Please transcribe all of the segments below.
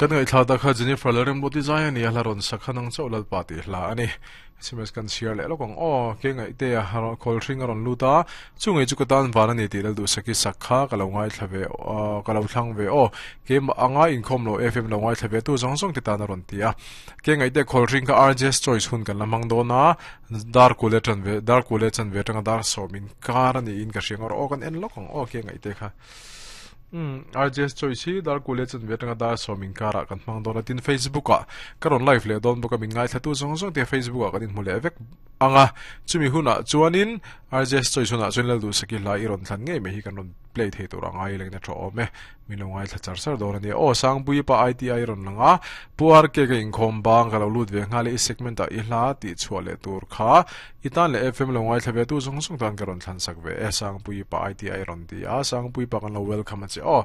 Kan ngaihthla ta kha Jennifer Lalremruati zai a ni a, hla rawn sak kha nang chauh Lalpa tih hla a ni. SMS kan chhiar leh lawk ang aw, ke ngaihte a khawl hring a rawn lut a, chu ngei chu ka tan van a ni tih Lalduhsaki sak kha ka lo ngaithla ve ka lo thlang ve aw, keimah anga inkhawm lo FM lo ngaithla ve tu zawng zawng te tan a rawn ti a. Ke ngaihte khawl hring kha RJ's Choice hun kan la hmang dawn a, dar kule tan ve dar kule chan ve atanga dar sawm inkar a niin ka hria ngawr aw kan en lawk ang aw ke ngaihte kha. Umm RJS Choice hi dar kule chan ve atanga dar sawm inkarah kan hmang dawn a tin Facebook ah ka rawn live leh dawn bawk a min ngaithla zawng zawng te Facebook ah kan inhmu leh vek ang a chumi hunah chuanin RJS Choice hunah chuan Lalduhsaki hla i rawn thlan ngei mai hi kan rawn play thei tur a ngai leng na tha awm e min lo ngaithla char char dawn a nia aw Sangpuii pa ITI rawn lang a Pu RK ka inkhawm bang ka lo lut ve nghal e i segment ah i hla tih chhuah leh tur kha I tan leh FM lo ngaithla ve tu zawng zawng tan ka rawn thlan sak ve e Sangpuii pa ITI rawn ti a Sangpuii pa kan lo welcome a che aw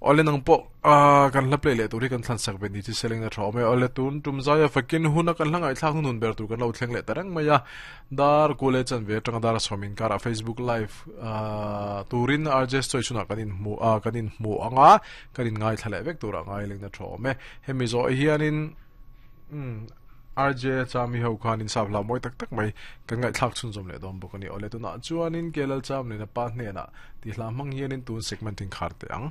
Awle nang pawh ah kan hla play leh tur hi kan thlan sak ve ni chi seleng na tha awm e awle tun tum zaia fakin huna kan hla ngaihthlak hnun ber tur kan lo thleng leh ta reng mai a dar kule chan ve atanga dar sawm inkar ah Facebook live ah turin RJ Story chhunah kan in hmu a kan in hmu anga kan in ngaithla leh vek tur ah ngai leng na tha awm e hemi zawh hianin umm RJ Chami ho khan in sap hla mawi tak tak mai kan ngaihthlak chhunzawm leh dawn bawk a ni. Awle tunah chuanin KLL Cham leh a pa hnenah tih hla hmang hianin tun segment in khar teh ang.